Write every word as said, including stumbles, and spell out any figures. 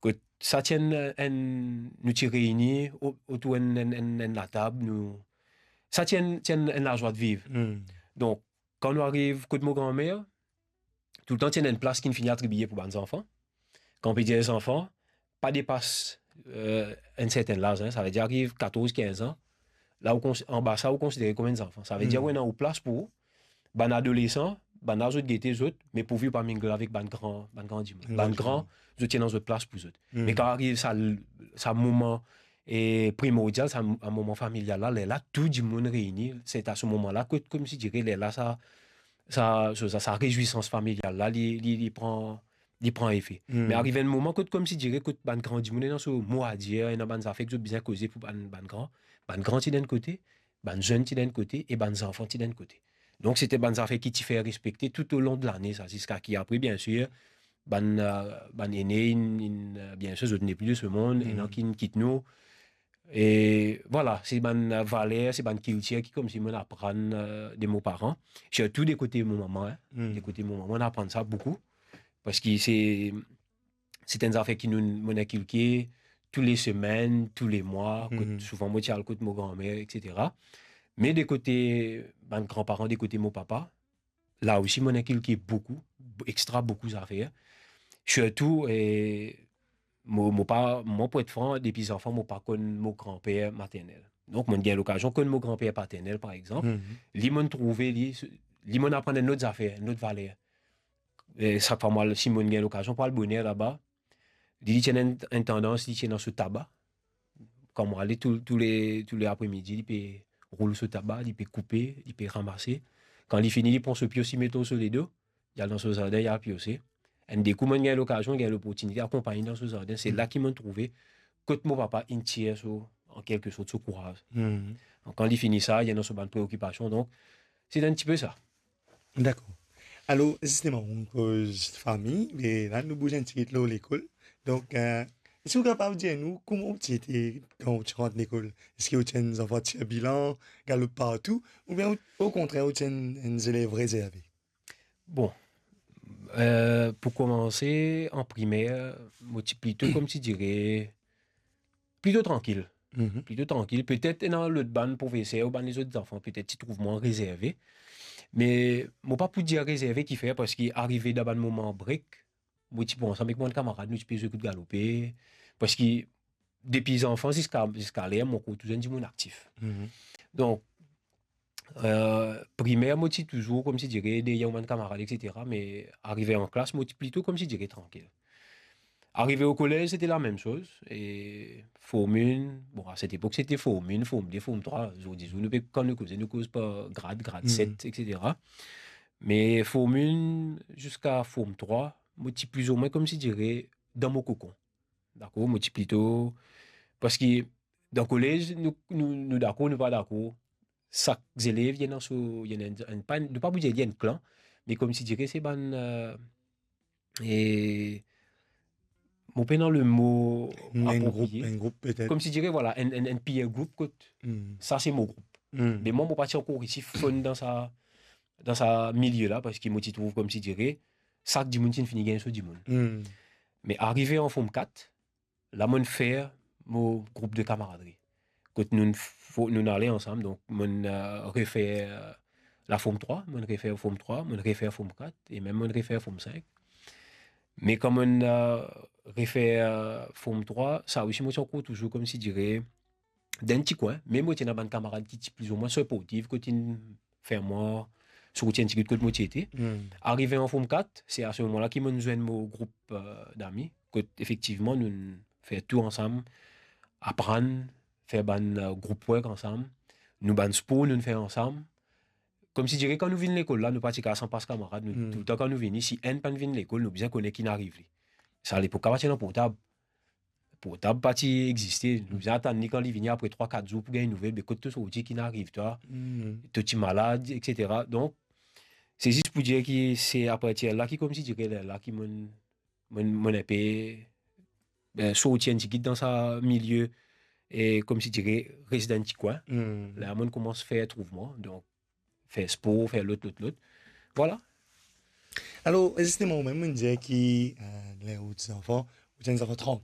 Kot sa ti enn, enn, nou ti reini o-, otour enn, enn, enn, enn latab, nou, sa ti enn, ti enn, enn lazwa de viv. Hmm. Donk, kan nou ariv kot mo granmer, toultan ti ena enn plas ki finn fini atribie pou bann zanfan. Kan pe dir zanfan, pa depas, eh, enn sertenn laz, hein, savedir ariv katorz, kinz an, la ou kons-, anba sa ou konsidere kouma enn zanfan. Savedir, hmm, ou ena ou plas pou ou, bann adolesan, bann la zot gete zot, me pourvi ou pa mingle avek bann gran, bann gran dimoun. Bann gran, zot ti ena zot plas pou zot. Hmm. Me kan ariv sa, sa moman, e primordial, sa, sa moman familial la, lerla tou dimoun reini, se a se moman la kot, koumsidire, lerla sa, sa, sa, sa, sa rezwisans familial la, li, li, li pran, li pran efe. Hmm. Me arive enn moman kot, koumsidire, kot bann gran dimoun ena so mo a dir, ena bann zafer ki zot bizin koze pou bann, bann gran, bann gran ti dan enn kote, bann zenn ti dan enn kote e bann zanfan ti dan enn kote. Donk, se ti bann zafer ki ti fer respekte toutolong de lane sa, ziska ki apre, biensir, bann, eh, bann ene, inn, inn, eh, biensir, zot nepli de se mond, hmm, ena ki'nn kit nou. E vwala, se bann, eh, valer, se bann kiltir ki koumsi mo'nn aprann, eh, de mo paran, sirtou de kote mo mama, hein. Hmm. De kote mo mama, mo'nn aprann sa boukou, parski se, se enn zafer ki nou, mo'nn inkilke tou le semenn, tou le mwa, kot, hmm, souvan mo ti al kot mo granmer, et cetera. Me de kote bann granparan, de kote mo papa, la osi, mo'nn inkilke boukou, extra boukou zafer. Sirtou, eh, mo, mo pa, mwa, pou et fran, depi zanfan, mo pa konn mo granper maternel. Donk, mo'nn gagn lokazion konn mo granper paternel, par exanp. Mhm. Li, mo'nn trouve li, li, mo'nn aprann enn lot zafer, enn lot valer. Eh, sak fwa mwa, si mo'nn gagn lokazion pou al boner laba, li, li ti ena enn, enn tandans, li ti ena so taba. Kan mo ale tou, tou le, tou le apremidi, li pe roul so taba, li pe koupe, li pe ramase. Kan li fini, li pran so pios, li met lor so ledo, li al dan so zardin, li al piose. Enn de kou, mo'nn gagn lokazion, gagn loportinite akonpagn li dan so zardin. Se, hmm, la ki mo'nn trouve kot mo papa inn tir so, an kelke sort, so kouraz. Hmm. Donk, kan li fini sa, li ena so bann preokipasion. Donk, se enn tipe sa. Dakor. Alor, zisteman, ou koz fami, me la, nou bouz enn tigit lor lekol. Donk, eh, eski ou kapav dir nou kouma ou ti ete kan ou ti rant lekol? Eski ou ti enn zanfan tirbilan, galop partou, oubien ou, okontrer, ou ti enn, enn zelev rezerve? Bon, eh, pou koumanse, an primer, mo ti plito, koumsidire, plito trankil. Mhm. Plito trankil. Petet ena lot bann profeser ou bann lezot zanfan, petet ti trouv mwa rezerve. Me mo pa pou dir rezerve kifer, parski arive dan bann moman break, mo ti pou ansam ek mo bann kamarad, nou ti pe zwe kout galope. Parski depi zanfan ziska, ziska ler, mo koz touzour enn dimoun aktif. Mhm. Donk, eh, primer, mo ti touzour, koumsidire, deryer mo bann kamarad, et cetera. Me arive an klas, mo ti plito, koumsidire, trankil. Arive o kolez, sete lamem soz. E Form un, bon, a set epok, sete Form un, Form de, Form trwa. Zordi zour, nou pe, kan nou koze, nou koz par grad, grad, hmm, set, et cetera. Me Form un ziska Form trwa, mo ti plizoumwin, koumsidire, dan mo kokon. Dakor, mo ti plito, parski dan kolez, nou, nou, nou dakor, nou pa dakor. Sak zelev, li ena so, li ena enn, enn, pa, nou pa pou dir li enn klan, me koumsidire se bann, eh, e, mo pena lemo aproprie. Enn group, enn group petet. Koumsidire, vwala, enn, enn, enn peer group kot, hmm, sa se mo group. Hmm. Me mwa, mo pa ti ankor resi fonn dan sa, dan sa milie la, parski mo ti trouv koumsidire, sak dimoun ti fini gagn so dimoun. Hmm. Me arive an Form kat, la mo'nn fer mo group de kamaradri. Kot nou fo-, nou ale ansam, donk mo'nn, eh, refer, eh, la Form trwa, mo'nn refer Form trwa, mo'nn refer Form kat, e mem mo'nn refer Form sink. Me kan mo'nn, eh, refer, eh, Form trwa, sa osi mo ti ankor touzour koumsidire dan enn ti kwin, me mo ti ena bann kamarad ki ti plizoumwin siportif, kot inn fer mwa sorti enn tigit kot mo ti ete. Hmm. Arive an Form kat, se a se moman la ki mo'nn zwenn mo group, eh, dami, kot efektivman nou'nn fer tou ansam, aprann, fer bann, eh, group work ansam, nou bann spor nou'nn fer ansam. Koumsidire kan nou vinn lekol la, nou pa ti kav san pas kamarad, nou, hmm, toultan kan nou vini, si enn pa'nn vinn lekol, nou bizin kone ki'nn ariv li. Sa lepok la pa ti ena portab. Portab pa ti existe. Nou bizin atann li kan li vini apre trwa, kat zour pou gagn nouvel, be kot to sorti, ki'nn ariv twa, hmm, to ti malad, et cetera. Donk, se zis pou dir ki se apartir la ki koumsidire lerla ki mo'nn, mo'nn, mo'nn enpe, eh, sorti enn tigit dan sa milie, e koumsidire res dan enn ti kwin. Hmm. La mo'nn koumans fer trouv mwa. Donk, fer spor, fer lot, lot, lot. Vwala. Alor, zisteman, ou mem, ou dir ki, eh, ler ou ti zanfan, ou ti enn zanfan trank-,